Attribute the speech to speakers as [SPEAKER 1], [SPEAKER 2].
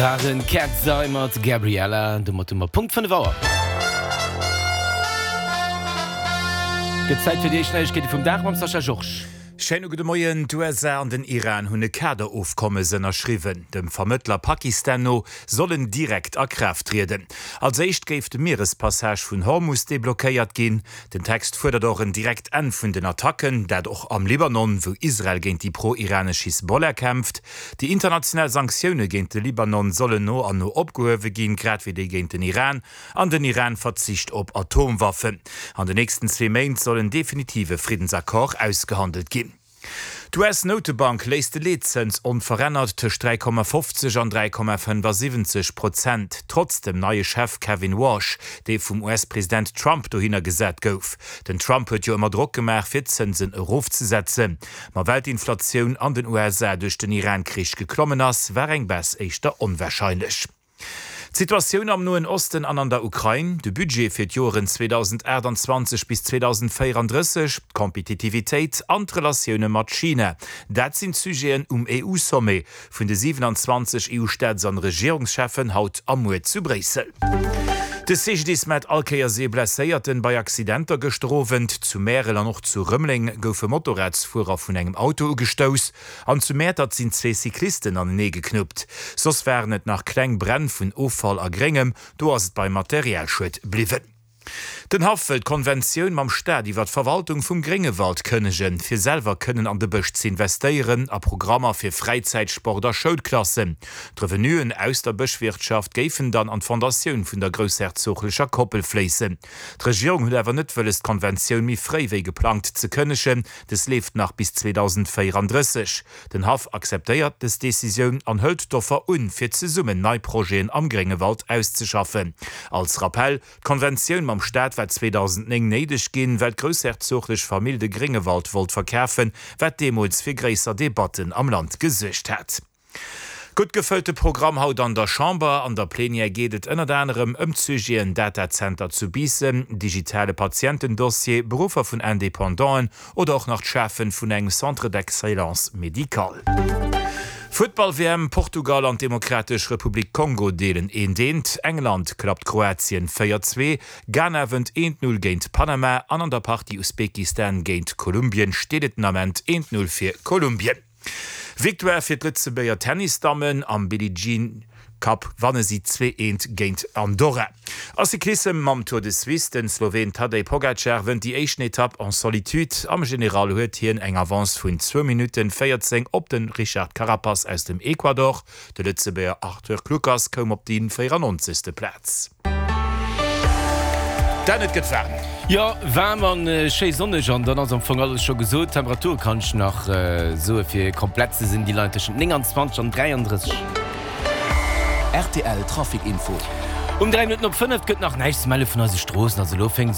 [SPEAKER 1] Waren Katzeye mat Gabriella. Domat hu mer Punkt 5 Auer. Gëtt Zäit fir déi éischt Neiegkeete vum Dag mam Sascha Georges.
[SPEAKER 2] Schéine gudde Moien. D'USA an den Iran hunn e Kaderofkommes ënnerschriwwen. Dem Vermëttler Pakistan no soll en direkt a Kraaft trieden. Als éischt géif de Mierespassage vun Hormus deblockéiert ginn. Den Text fuerdert och en direkt Enn vun den Attacken, dat och am Libanon, wou Israel géint déi pro-iranesch Hisbollah kämpft. Déi international Sanktioune géint de Libanon sollen no an no opgehuewe ginn, grad wéi déi géint den Iran. An den Iran verzicht op Atomwaffen. An den nächsten zwee Méint soll en definitive Friddensaccord ausgehandelt ginn. D'US-Noutebank léisst de Leetzëns onverännert tëscht 3,50 an 3,75 Prozent, trotz dem neie Chef Kevin Warsh, dee vum US-President Trump dohinner gesat gouf. Den Trump huet jo ëmmer Drock gemaach, fir d'Zënsen erofzesetzen. Ma well d'Inflatioun an den USA duerch den Iran-Krich geklommen ass, war eng Baisse éischter onwarscheinlech. D'Situatioun am Noen Osten an an der Ukrain, de Budget fir d'Joeren 2028 bis 2034, d'Kompetitivitéit an d'Relatioune mat China, dat sinn d'Sujeten um EU-Sommet vun de 27 EU-Staats an Regierungscheffen haut a muer zu Bréissel. De CGDIS mellt all Kéiers ee Blesséierten bei Accidenter gëschter Owend. Zu Märel an och zu Rëmeleng goufe Motorradsfuerer vun engem Auto ugestouss an zu Mäertert sinn zwee Cyclisten anenee geknuppt. Soss waren et nach kleng Bränn vun Offall a Gréngem, do ass et beim Materialschued bliwwen. Den Haff wëll d'Konventioun mam Staat iwwer d'Verwaltung vum Gréngewald kënnegen, fir selwer kënnen an de Bësch z'investéieren, a Programmer fir Fräizäit-, Sport a Schoulklassen. D'Revenuen aus der Bëschwirtschaft géifen dann an d'Fondatioun vun der groussherzoglecher Koppel fléissen. D'Regierung huet awer net wëlles d'Konventioun méi fréi wéi geplangt ze kënnegen, des leeft nach bis 2034. Den Haff akzeptéiert des Decisioun an hëlt d'Offer un, fir zesummen nei Projeten am Gréngewald auszeschaffen. Als Rappell, D'Konventioun mam Staat war 2009 néideg ginn, well d'groussherzoglech Famill de Gréngewald wollt verkafen, wat deemools fir gréisser Debatten am Land gesuergt hat. Gutt gefëllte Programm haut an der Chamber. An der Plenière geet et ënnert anerem ëm d'Sujeten Datazenter zu Biissen, digitale Patientendossier, Beruffer vun Independanten Oder och nach d'Schafen vun engem Centre d'excellence médicale. Futtball-WM, Portugal an d'Demokratesch Republik Kongo deelen eent eent, England klappt Kroatien 4, 2, Ghana wënnt eent 0 géint Panama an an der Partie Usbekistan géint Kolumbien steet et den Ament eent 0 fir Kolumbien. Victoire fir d'Lëtzebuerger Tennisdammen am Billie Jean Cup wanne si 2 eent géint Andorra. A Cyclissem mam Tour de Suisse, Den Sloween Tadej Pogacar wënnt déi éischten Etapp en solitude. Am General huet hien eng Avance vun zwou Minutten 14 op de Richard Carapaz aus dem Ecuador. De Lëtzebuerger Arthur Kluckers koum op déi 94. Plaz. Dan, et gëtt waarm.
[SPEAKER 1] Jo, waarm an schéi sonneg an dann ass am Fong alles scho gesot. D'Temperature kann ech nach soe fir komplett ze sinn, déi leien tëschent 29 an 33.
[SPEAKER 3] Rtl Trafic Info.
[SPEAKER 1] Um 3 Minutten op 5 gëtt nach näischt ze melle vun eise Stroossen. Also elo fénkt.